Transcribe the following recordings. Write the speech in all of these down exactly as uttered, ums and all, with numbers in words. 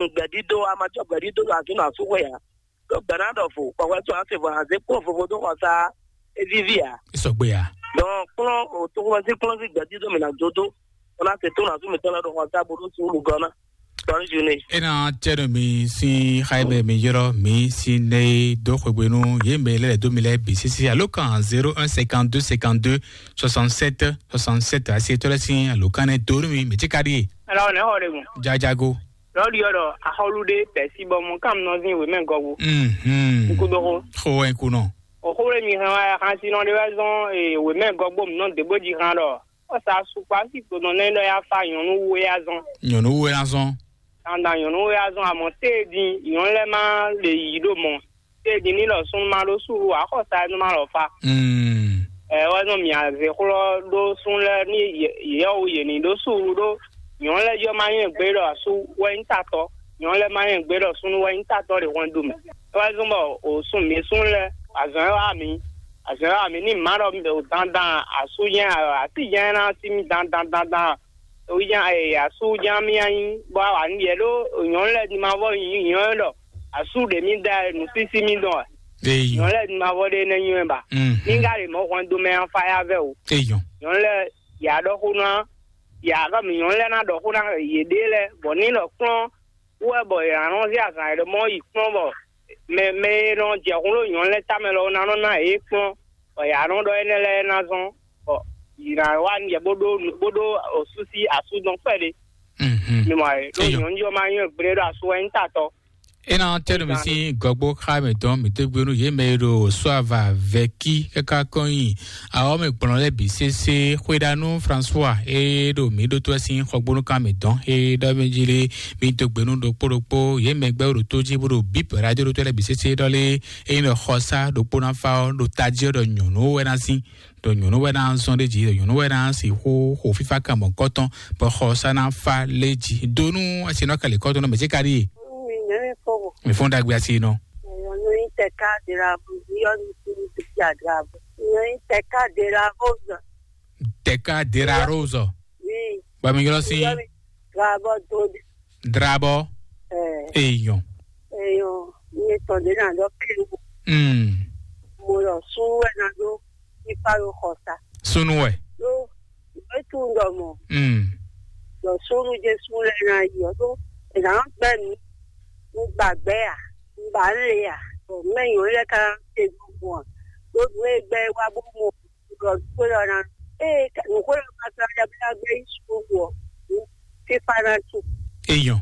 gbɛdídó, a ma jɔ gbɛdídó ɖo azɔ̌ nɔ asúxwé ǎ. Ɖó gbɛ̌ ná ɖɔ vo, kpɔ̌kpɛ́ tɔn á se vɔ hanzé kplɔ́n vovo dó xɔ sá é víví ǎ. É sɔgbe ǎ. Dɔn kplɔ́n o toxoxɔsí kplɔ́n sín gbɛdídó mǐ ná dó dó, bó ná se tó nɔ asú mǐtɔn lɛ́ɛ ɖo xɔ sá bó ɖó sú olùgɔ́ ná. Tɔn ní ju n'i. É ná tɛ́ nú mi sín xá e mɛ mi ylɔ́ mi sín nɛ́ e dó xwegbe nú yě mɛ lɛ́ɛ dó mi lɛ́ɛ bǐ sísí alókan zéro un cinquante-deux cinquante-deux soixante-sept soixante-sept asi etɔ́ lɛ́ɛ sín alókan nɛ́ dó nú mi mǐ cí ka ɖíe. Alɔ nɛ xɔ ɖe gun. Jajago. Lɔɖi ɔ́ ɖɔ axɔlu ɖé pɛ̌si bɔ mɔ kámnɔzín wěmɛ gɔgbo. Mhm. Nukúdoxo. Xo wɛ kunɔ. Òxó ɖé mi hɛn wá xásinɔ ɖé wá zɔn wěmɛ gɔgbo mǐ nɔ dě bó jí hán ɖɔ ɔ́ sa sukpá sí gbɔdɔn nɛ́ ɖɔ yá fa nyɔ̌nu wú é azɔn. Nyɔ̌nu wú é azɔn. Dandan nyɔ̌nu wú é azɔn amɔ̌ téé din nyɔ̌nu lɛ́ɛ má lè yǐ ɖo mɔ̌. Téé din ní ɖɔ súnnu má ɖó súlu ǎ xɔ sa é nú má lɔ fa. Mm. Ɛ wɛ nɔ mì azě xlɔ́ ɖó súnnu lɛ́ɛ ní yɛ̌ wú yě ní ɖó súlu ɖó nyɔ̌nu lɛ́ɛ jɔ má nyɔ́ gbé ɖɔ asú wɛ nyí tatɔ, nyɔ̌nu lɛ́ɛ má nyɔ́ gbé ɖɔ súnnu wɛ nyí tatɔ ɖe hwɛndo mɛ. É wɛ zɔ́n bɔ o sun mǐ súnnu lɛ́ɛ azɔ̌ e wá mǐ azɔ̌ e wá mǐ ní mǎ ɖɔ mǐ ɖo dandan asú jɛ́n así jɛ́n ná sí mì dandan dandan o jɛ́n asú jɛ́n mì nyí bɔ a wǎ ní yɛ ɖó nyɔ̌nu lɛ́ɛ ní ma vɔ nyɔ̌nu ɖɔ asú ɖě mì da nǔsísí mì dɔn wɛ. Eyi. Nyɔ̌nu lɛ́ɛ ní ma vɔ ɖé nɛ́ nywɛ́ ba. Mhm. Ní ká ɖe mɔ̌ hwɛndo mɛ afáyá vɛ o. Eyi. Nyɔ̌nu lɛ́ɛ yě á ɖɔ xó ná yě á ɖɔ mǐ nyɔ̌nu lɛ́ɛ ná ɖɔ xó ná yěɖée lɛ́ɛ bɔ ní lɔ kplɔ́n wú wɛ bɔ yě ná nɔ zé azǎn e ɖɔ mɔ yi kplɔ́n bɔ mɛ mɛ e nɔ jɛ hun ɖó nyɔ̌nu lɛ́ɛ tamɛ lɔ ná nɔ ná yě kplɔ́n bɔ yě ná nɔ ɖɔ énɛ́ lɛ́ɛ ná zɔ́n bɔ yě ná wá yɛ bó ɖó bó ɖó osúsí asú dɔn kpɛɖé. Mhm. Mi mɔ ɛ ɖó Eyɔ. Nyɔ̌nu jɔ ma nyɔ́ gblé ɖo asú wɛ nyí tatɔ. É ná tɛ́ nú mi sín gɔgbó xá mǐtɔn mǐ tɛ́ gbé nú yě mɛ e ɖo sɔ́ avǎ vɛ́kí káká kɔn nyi awɔ́ mɛ gblɔn lɛ́ɛ bǐ sésé xwéɖánú François e ɖo mǐ ɖótó wɛ sín xɔgbónúkan mǐtɔn e ɖɔ mɛ jí lé mǐ dó gbe nú ɖokpó ɖokpó yě mɛ gbɛ́ ɖo tó jí bó ɖo bíp radio ɖótó lɛ́ɛ bǐ sésé ɖɔ lé ényí ɖɔ xɔsá ɖokpó ná fá ɔ́ ɖo tají ɔ́ ɖɔ nyɔ̌nu wɛ ná sín ɖɔ nyɔ̌nu wɛ ná zɔn ɖé jí ɖɔ nyɔ̌nu wɛ ná sixú xo fífá kan mɔ̌kɔtɔn bɔ xɔsá ná fá lé jí dó nú asinɔ kɛlɛkɔtɔn nɔ mɛ jí ka ɖíe. Mi nyɛ mi kpɔbɔ. Mi fún dagbe asi nɔ. Yɔnu yi tɛka de la bu yɔnu ti ti de la bu. Yɔnu yi tɛka de la bu. Tɛka de la rose. Oui. Ba mi yɔrɔ si. Yɔnu drabɔ do de. Drabɔ. Ɛ. Eyɔn. Eyɔn. Ni tɔn de na dɔ kiri. Hmm. Mo lɔ sun wɛ na do ipa lo xɔ sa. Sunu wɛ. Lo etu dɔ mɔ. Hmm. Lɔ sunu Jesu lɛ na yi ɔ do. Ɛ na gbɛ mi. Mo gbàgbé à. Mo bá ń le à. Bɔ mɛ yàn lɛ ka ṣe gbogbo à. Gbogbo ẹgbẹ́ wa bó mo lọ gbé lọ na. Ee, nùkó lọ ka sọ ọ́ dàbí lágbé yìí sùn wọ̀. Fífa náà tù. Eyɔn.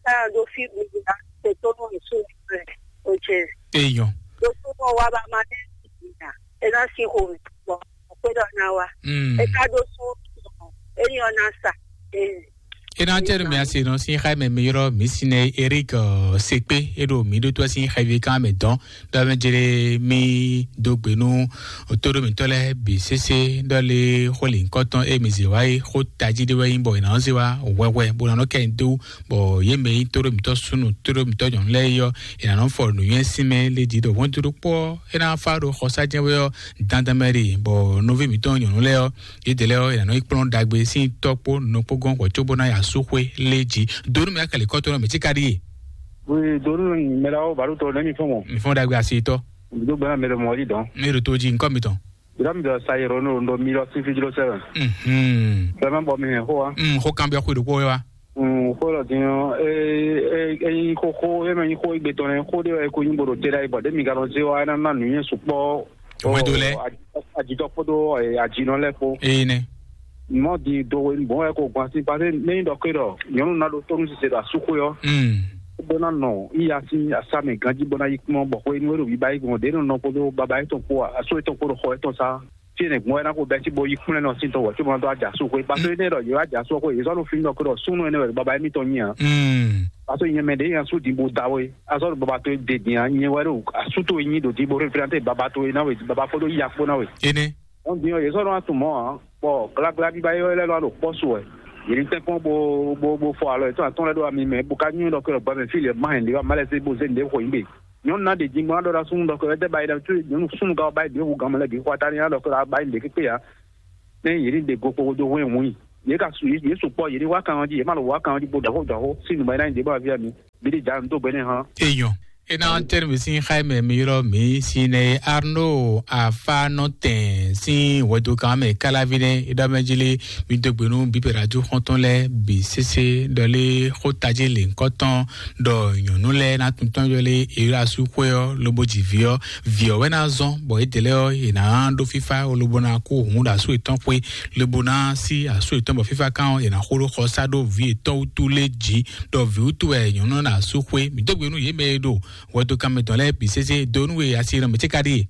Káyọ̀ ló fi gbogbo náà ṣe tó mọ̀ ní sùn rẹ̀. Ó jẹ́. Eyɔn. Ló tó mọ̀ wá bá máa dé ìgbìyà. Ẹ náà sì hò mí pọ̀. Ọ̀pẹ́ lọ náà wá. Mm. Ẹ ká ló sún. Ẹ ní ọ̀nà sà. Ee. Ena tɛnu mi ase nɔ sin xa mɛ mi yɔrɔ mi sinɛ Eric Sekpe eɖo mi ɖo to sin xa vi kan mɛ dɔn dɔ mɛ jere mi do gbe nu otoɖo mitɔ lɛ bi sese dɔ le xo le nkɔtɔn e mi ze wa yi xo taji de wɛ yin bɔ ina ɔn ze wa wɛwɛ bo na nɔ kɛ do bɔ ye mɛ yi toɖo mitɔ sunu toɖo mitɔ nyɔnu lɛ yɔ ina nɔ fɔ nuyɛ sin mɛ le di ɖo wɔn toɖo kpɔ ena fa ɖo xɔsa jɛ wɛ yɔ dandan mɛ ɖi bɔ novi mitɔ nyɔnu lɛ yɔ Yědɛlɛ ɔ́, è nǎ nɔ yi kplɔ́n ɖagbe sín tɔ́ kpó nɔ kpó gɔ́n hwɛ̌ cóbó ná yi asúxwé lé jí. Donu mɛ akɛlɛ kɔ́tɔ́ nɔ mɛ tí ka ɖíe. Oui, donu mɛ la wo baɖo tɔ nɛ mi fɔn mɔ. Mi fɔn ɖagbe asi tɔ. Mi do gbɛna mɛ lɛ mɔ yi dɔn. Mi ɖo to jí nkɔ mi tɔn. Dira mi dɔ sa yɛrɛ no ndo mi lɔ si fi jlo sɛ. Mhm. Bɛmɛ bɔ mi hɛn xo wa. Mm, xo kan bɛ xo ɖokpó wa. Mm, xo lɔ din ɔ, e e e yi xo xo e mɛ yi xo igbe tɔn nɛ xo de ɔ e ko nyi bo ɖo te ɖa yi bɔ de mi ga nɔ ze wa e na na nu yɛn sukpɔ. Wɛdo lɛ. Ajitɔ kpódó ajinɔ lɛ kpó. Eye nɛ. Mɔ di do we bɔn wɛ ko gbɔn asi pase ne yi dɔ ke dɔ nyɔnu na ɖo tɔnu sise ɖo asuxwe ɔ. Mm. Bó ná nɔ iya sí asámì ganjí bó ná yí kpɔ́n bɔ xwe nú é ɖo bíbá yí gbɔn ɖě nɔ nɔ kpódó baba yítɔn kpó asó yítɔn kpó ɖo xɔ yítɔn sá. Tí ne gbɔn wɛ ná ko bɛ́ sí bó yí kplɛ́n nɔ sí tɔn wɛ tí mo ná dó ajasu xwe. Pase ne ɖɔ yě wá ajasu xwe yě zɔ́ nɔ fi nɔ ke dɔ súnú ɛnɛ wɛ baba yí mítɔn nyí a. Mm. Pase nyɛ mɛ ɖě nya sú din bó da we. Azɔ ɖo baba towe de din a nyɛ wɛ ɖo asú towe nyi ɖo din bó représenter baba towe ná we baba kpódó ya kpó ná we. Ene. Ɔn din ɔ yě sɔ́ nɔ wá tunwun mɔ̌ ǎ, bɔ gblagbla bíbá yɔ́ lɛ́ɛ nɔ wá ɖo kpɔ́ su wɛ. Yě ní tɛ́nkpɔ́n bo bo bo fɔ alɔ yětɔn atɔ́ɔ́n lɛ́ɛ ɖó ami mɛ bó ka nywɛ́ ɖɔ kɛ ɖɔ gbɛmɛ fí lɛ́ɛ má hɛn ɖě wá má lɛ́ zé bó zé nǔɖé xo yín gbe. Nyɔ̌nu ná ɖe din bó ná ɖɔ ɖo asúnú ɖɔ kɛ wɛ dɛ ba yi ɖɔ nyɔ̌nu súnnu ka wá ba yi ɖě hu gan mɛ lɛ́ɛ bǐ xɔ atá ní ná ɖɔ kɛ ɖɔ ba yi ɖě kékpé ǎ. Nɛ yě ní ɖe go kpokpo dó hwɛ́n hun yi. Yě ka su yě sukpɔ́, yě ní wá kan ɔ́ jí, yě má lɔ wá kan ɔ́ jí bo ɖɔxó ɖɔxó sín nǔgbɛ́ ná nyi ɖě bɔ aví mi. Mǐ ɖi ja nǔ dó gbɛ́ nɛ́ hán. Èèyàn é ná tɛ́nú mì sín xá mɛ mi ylɔ́ mǐ sín nɛ Arno afánɔtɛn sín hwɛdokan mɛ káláví nɛ́ é ɖɔ mɛ jí lé. Mi dó gbe nú bíbɛ̀rẹ̀ ajú xɔ́ntɔn lɛ́ɛ bǐ sésé ɖɔ lé xó tají lě ŋkɔ́tɔn ɖɔ nyɔ̌nu lɛ́ɛ ná tuntɔ́n yɔ lé é ɖo asú xwé ɔ́ lobo ji vǐ ɔ́. Vǐ ɔ́ wɛ ná zɔ́n bɔ édɛ́ lɛ́ɛ ɔ́ è nǎ ɖó fífá lobo ná kó hǔn ɖo asú yětɔn xwé lobo ná sí asú yětɔn bɔ fífá kan ɔ́ è nǎ xo ɖó xɔsá ɖó vǐ yětɔn wútu lé jí ɖɔ vǐ wútu wɛ nyɔ̌nu ná asú xwé. Mǐ dó gbe nú yě mɛ e ɖo hwɛdokánmɛ tɔn lɛ́ɛ bǐ sésé dó nú we asi nɔ mɛ ce ka ɖíe.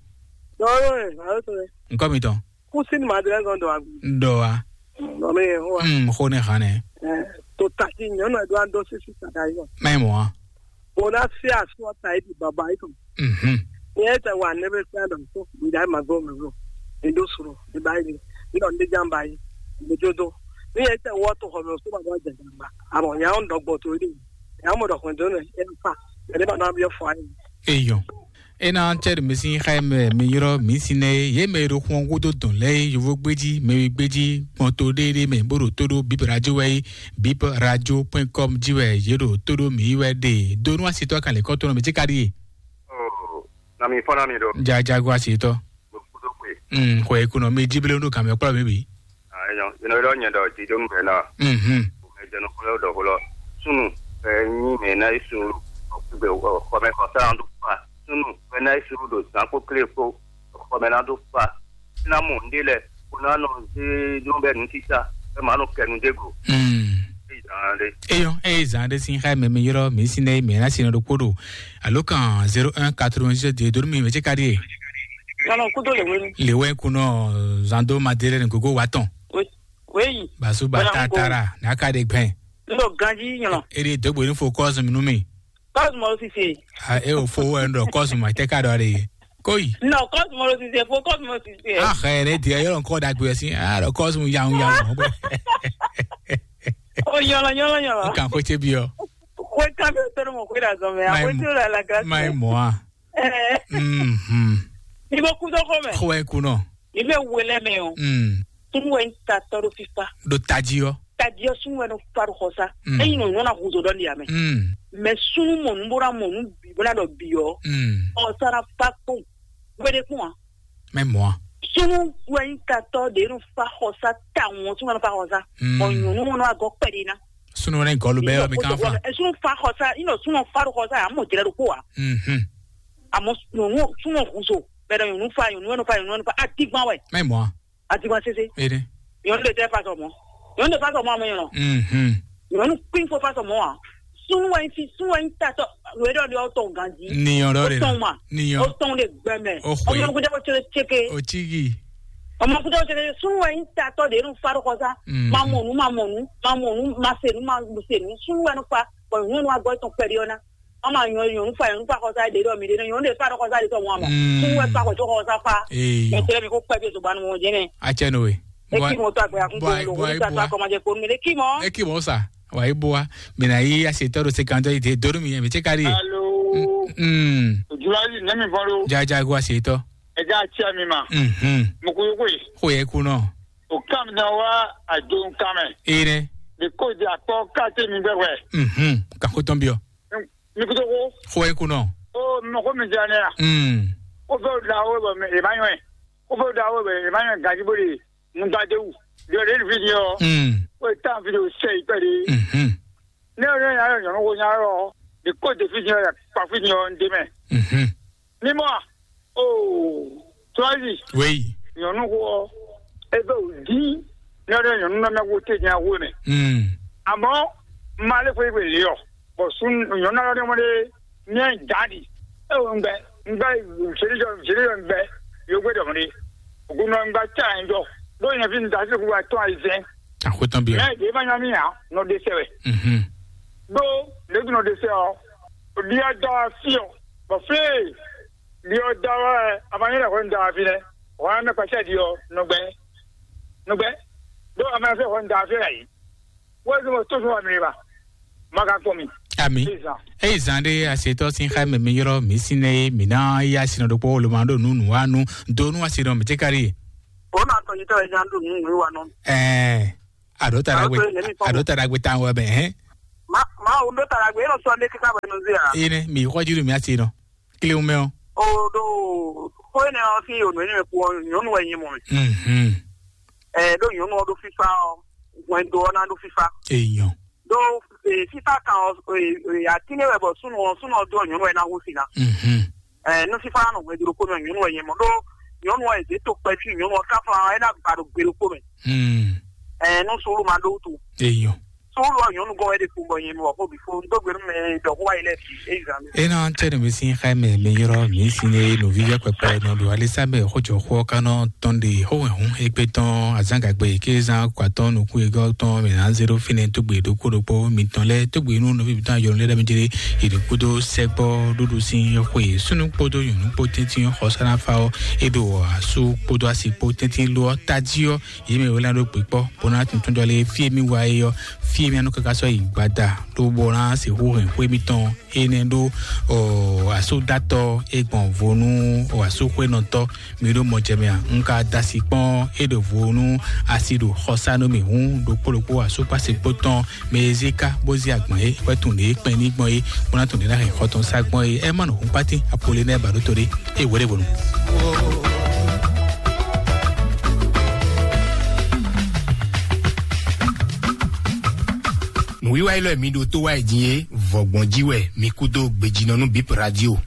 Dɔwɛwɛ, ayo to lɛ. Ŋkɔ mitɔn. Kúsín Madrɛ zɔn dɔ agu. Dɔ wa. Nɔ mi yɛ hó wa. Mm, xó ne hàn nɛ. Ɛ, to tati nyɔnu ɛ do an do sisi sada yɔ. Mɛ mɔ wa. Bona si asu ɔta yi di baba yi tɔn. Mhm. Ni ɛ tɛ wa ne bɛ kpɛ dɔ so mi da ma go mi go. Mi do suro mi ba yi ni. Mi dɔ ne jan ba yi. Mi do do. Ni ɛ tɛ wɔ to xɔ mi so ba do jɛ jɛ ba. Amɔ nya ɔn dɔ gbɔ to yi. Nya mɔ dɔ xɔn do ne ɛ fa. Ɛ ne ba na bi fɔ ayi. Eyɔn. Ena cɛɖi misi xɛ mɛ mi yrɔ mi si nɛ ye mɛ ɖo xɔn gúdo dɔn lɛ ye yovo gbéji mɛ wi gbéji kpɔn to ɖéɖé mɛ bó ɖo tó ɖó bip radio wɛ yi bip radio point com ji wɛ ye ɖo tó ɖó mi wɛ ɖe donu asitɔ kan lɛ kɔtɔn mi ti ka ɖi ye. Oh, na mi fɔ na mi ɖo. Jajago asitɔ. Mo kudo kwe. Mm, xɔ ekunɔ mi ji bele ɖo kan mɛ kplɔ mi bi. Ah, enyo, ino ɖɔ nyɛ ɖɔ jijɔ nu bɛ na. Mhm. Mɛ jɛnu kplɔ ɖɔ xlɔ. Sunu, ɛ, nyi mɛ na yi sunu, ɔ, xɔmɛ xɔsa ɖo fa. Sunu, mɛ na yi sunu ɖo zan kpó klé kpó. Xɔmɛ na ɖo fa. Na mɔ nɖe lɛ, ko na nɔ zé ɖo bɛ nu tita, bɛ ma nɔ kɛ nu ɖe go. Mm. Eyi zan ɖe. Eyɔ, eyi zan ɖe sin xɛ mɛ mi yrɔ mi sin ɖe mi na sin ɖo kpó ɖo. Alo kan zéro un quatre-vingt-dix-sept de donu mi mɛ ce ka ɖi ye. Nɔnɔ kudo le wenu. Le wɛ kunɔ zando madele ni gogo wa tɔn. We, weyi. Basu ba Wala ta ko. Tara, na ka de gbɛn. Ndo ganji nyɔnɔ. E de dogbo ni fo kɔsum nu mi. Kɔsum o sisi. A e o fo wɛ ndo kɔsum a te ka do are ye. Koi. No, kɔsum o sisi, fo kɔsum o sisi. A xɛ ne dia yɔrɔ nkɔ da gbe si. A do kɔsum yan yan. O nyɔlɔ nyɔlɔ nyɔlɔ. Kan ko che bi o. Ko kan be to mo ko da zo me. A ko to la la grâce. Mai moa. Eh. Mhm. Ni bo kudo ko me. Ko e kuno. Ni be wele me o. Mm. Tun we ta to do fifa. Do taji o. Taji o sun we no faru xosa. Mm. E yin no na huzo don dia me. Mm. Me sunu mo nu bora mo nu bi bora do bi o. Mm. O sara fa ko. We de ko. Mɛ mɔ a. Sunu wɛ yi ka tɔ de nu fa xosa ta ŋɔ sunu wɛ nu fa xosa. Mm. Bɔ nyɔnu ŋɔ nɔ agɔ kpɛ de na. Sunu wɛ gɔlu bɛ yɔ mi kan fa. Sunu fa xosa, ino sunu fa do xosa, amo jɛrɛ do ko wa. Mhm. Amo nyɔnu sunu huzo. Bɛ dɔ nyɔnu fa, nyɔnu wɛ nu fa, nyɔnu wɛ nu fa. Atigban wɛ. Mɛ mɔ a. Atigban sese. Ede. Nyɔnu de tɛ fa sɔmɔ. Nyɔnu de fa sɔmɔ amo nyɔnu. Mhm. Nyɔnu kpin fo fa sɔmɔ wa. Sunu wɛ fi, sunu wɛ tatɔ. Wɛ dɔ de o tɔn ganji. Niyɔn dɔ de. O tɔn ma. Niyɔn. O tɔn de gbɛmɛ. O xwe. Ɔmɔ kuta o chere cheke. O chigi. Ɔmɔ kuta o chere sunu wɛ tatɔ de nu fa do kɔsa. Mm. Ma mɔnu, ma mɔnu, ma mɔnu, ma senu, ma senu. Sunu wɛ nu fa. Bɔn nyɔnu agɔ tɔn pɛri ɔna. Ama nyɔ nyɔnu fa nyɔnu fa kɔsa de dɔ mi de nyɔnu de fa dɔ kɔsa de tɔ mɔ ama. Mm. Kun wɛ fa kɔ to kɔsa fa. Ee. Mɛ tɛlɛ mi ko kpɛ bi to banu mɔ jɛnɛ. A cɛ n'o ye. E ki mɔ to agbɛ akun ko lo ko ta kɔma jɛ ko mi de ki mɔ. E ki mɔ sa. Wa e bo wa. Mina yi a se tɔ do se kan tɔ yi de do mi mi ce kari ye. Alo. Mm. Julali ne mi fɔ lo. Jajago a se tɔ. Ɛ ja cɛ mi ma. Mhm. Mo ko yo ko ye. Ko ye ku nɔ. O kam na wa a jo kam. E ne. De ko de akpɔ kate mi gbɛgbɛ. Mhm. Ka ko tɔn bi o. Mi kudo ko. Xo e kunɔ. O mɔ ko mi jɛ ne ya. Mm. Ko fɛ da o bɛ e ma nyɔ. Ko fɛ da o bɛ e ma nyɔ gaji bo de. Nugba de wu. Yɔ de vi ni o. Mm. Ko e tan vi de o sɛ yi pɛ de. Mhm. Ne o ne ya yɔ nyɔnu ko nya yɔ. De ko de vi ni o ya kpa vi ni o n de mɛ. Mhm. Ni mɔ. O Tɔzi. Oui. Nyɔnu ko e bɛ o di. Ne o ne nyɔnu na mɛ ko te nya wo mɛ. Mm. Amɔ ma le ko e bɛ le yɔ. Bɔn sun nyɔnu alɔ ɖe mɔ ɖe miɛ da ɖi. E wo ŋgbɛ ŋgbɛ zeli jɔ zeli jɔ ŋgbɛ yogbe dɔ mɔ ɖe. Ogun nɔ ŋgbɛ tsa ɛ jɔ. Ɖo nyɛ fi da se ku wa tɔn ayi zɛn. Akutɔn bi. Mɛ de ma nya mi ya nɔ de sɛ wɛ. Mhm. Ɖo ɖebi nɔ de sɛ ɔ. Odi ɔ da wa fi ɔ. Bɔ fi ɔ da wa ɛ a ma nyɛ lɛ kɔ da wa fi lɛ. Wa mɛ kpɛsɛ di ɔ nɔgbɛ. Nɔgbɛ. Ɖo a ma fɛ kɔ da wa fi lɛ yi. Wezimo tó fún wa mi ba. Maka kpɔn mi. Ami. Ezan. Eyi zan ɖe asetɔ sin xa mɛ mi yrɔ mi sin ne mi na ya sin ɖokpɔ wolo ma ɖo nu nu wa nu do nu asi ɖɔ mi ti kari. O na tɔ yitɔ ezan do nu nu wa nɔ. Ɛɛ. Àɖó taɖagbe. Àɖó taɖagbe táwọn wɛ mɛ hɛn. Ma ma o ɖó taɖagbe, e nɔ sɔ ne kíkà bɛ nɔ zé a. Ene mi xɔ jí ɖo mi asi nɔ. Kile ŋu mɛ ɔ. O ɖo xó ene ɔ sín yǒnú ene mɛ kú ɔ, nyɔ̌nu wɛ nyí mɔ mɛ. Mhm. Ɛ ɖó nyɔ̌nu ɔ ɖó fífá ɔ, hwɛndo ɔ ná ɖó fífá. Èèyàn. Ɖó fífá kan ɔ, atínɛ wɛ bɔ súnnu ɔ súnnu ɔ dó ɔ nyɔ̌nu wɛ ná hú si ná. Mhm. Ɛ nú fífá nɔ hwɛndo ɖokpó mɛ, nyɔ̌nu wɛ nyí mɔ ɖó nyɔ̌nu ɔ è zě to kpɛfí nyɔ̌nu ɔ ká fún ɛ ná gba ɖo gbe ɖokpó mɛ. Hmm. Ɛ nú sùúrù ma ɖó wútu. Èèyàn. Sùúrù ɔ nyɔ̌nu gɔ́n wɛ ɖe kpo bɔ nyɛ mi wɔ xó bǐ fó, un dó gbe nú mɛ e ɖɔ xó wá yi lɛ́ɛ bǐ, é yi zan mi. Ena tse no mi sin xaime mi yɔrɔ mi sin ne no vivɛ kpɛkpɛ nɔ ɖo alisa mɛ xɔjɔ xɔ kanɔ tɔn ɖe xɔwɛ hun egbe tɔn azangagbe ke zan kwatɔn nukun egɔ tɔn mi na zero fine tugbe ɖokpo ɖokpo mi tɔn lɛ tugbe nu nɔvi mi tɔn yɔrɔ lɛ mi jere iri kudo sɛgbɔ ɖuɖu sin xwe sunu kpodo nyɔnu kpo tɛntin xɔsana fa ɔ eɖo asu kpodo asi kpo tɛntin lo ɔ taji ɔ yi mɛ wɛlɛ ɖo gbe kpɔ bona tuntun jɔ le fie mi wa e ɔ fie mi anu kaka sɔ yi gbada ɖo bona se hu hɛn xwe mi tɔn ene ɖo ɔ asúdatɔ e gbɔn vo nú ɔ asúxwénɔtɔ́ mi ɖo mɔ jɛ mɛ a? Un ka da asi kpɔ́n é ɖo vo nú asi ɖo xɔsánú mì hǔn ɖokpó ɖokpó asúkpási kpó tɔn mɛ e zé ká bó zé agban é wɛ tun lě kpɛn ní gbɔn é bó ná tun lě ná hɛn xɔ tɔn sá gbɔn é ɛ má nɔ hún kpátín apolé nɛ́ ba ɖó to ɖé é wɛɖé vo nu. Nǔwiwa élɔ́ e mi ɖo tó wá yi din é, vɔ̌gbɔn jí wɛ mi kú dó gbejínɔ nú Bip Radio.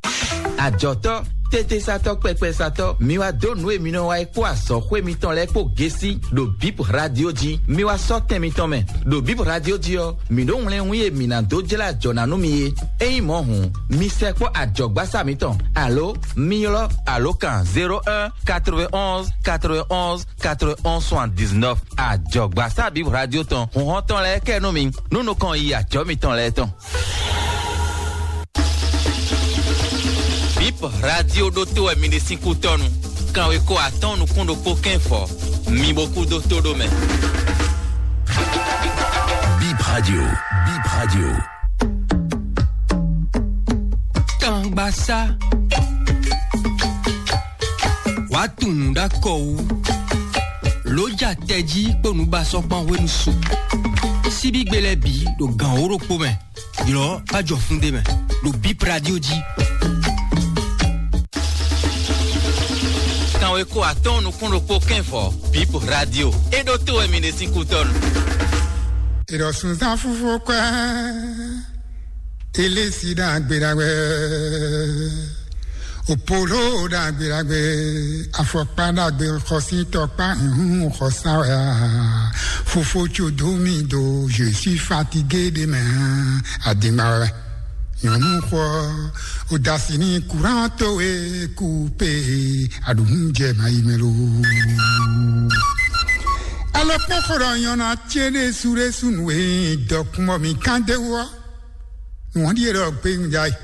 Ajɔ̌tɔ́, tétésatɔ́, kpɛkpɛsatɔ́, mi wá dó nǔ e mi nɔ wa é kpó azɔ̌xwé mitɔn lɛ́ɛ kpó gésí ɖo Bip Radio jí. Mi wá sɔ́ tɛn mitɔn mɛ. Ɖo Bip Radio jí ɔ́, mǐ ɖó wlɛ́nwún e mǐ ná dó jlá ajɔ̌ ná nú mi é. Ényí mɔ̌ hǔn, mi sɛkpɔ́ ajɔ̌gbásá mitɔn, alo mi ylɔ́ alǒkan zéro un quatre-vingt-onze quatre-vingt-onze quatre-vingt-onze soixante-dix-neuf. Ajɔ̌gbásá Bip Radio tɔn, hǔnhɔ́n tɔn lɛ́ɛ kɛ nú mi, nú nukɔn yi ajɔ̌ mitɔn lɛ́ɛ tɔn. Bip Radio ɖótó wɛ mi ɖe sín kútɔ́nu. Kanweko atɔ́ɔ́n nukún ɖokpó kɛ́n fɔ. Mi bo kú dó tó ɖó mɛ. Bip Radio, Bip Radio. Kangbasá. Wàá tunwun ɖó akɔ wú. Lǒ ja tɛjí kpó nǔbasɔ́ kpán hwenu su. Síbígbe lɛ́ɛ bǐ ɖo gǎn wǒ ɖokpó mɛ. Ylɔ̌ bá jɔ fún ɖé mɛ ɖo Bip Radio jí. Kanweko atɔ́ɔ́n nukún ɖokpó kɛ́n fɔ Bip Radio. É ɖótó wɛ mi ɖe sín kútɔ́nu. Ìrọ̀sùn zán fúfú kwẹ́, ilé sí dàgbé dàgbé. Opolo dagbe dagbe, afɔkpa dagbe, xɔsitɔkpa, ihun xɔsa wɛ a. Fofo tso do mi do, je suis fatigué de mɛ, adingba wɛ. Nyɔnu xɔ, odasi ni courant to e coupe, aɖuhun jɛ ma yi mɛ lo. Alɔ kpɔn xɔ ɖɔ nyɔna tse ɖe su ɖe su nu e dɔkun bɔ mi kan de wɔ. Nua ɖie ɖɔ gbe ŋda yi.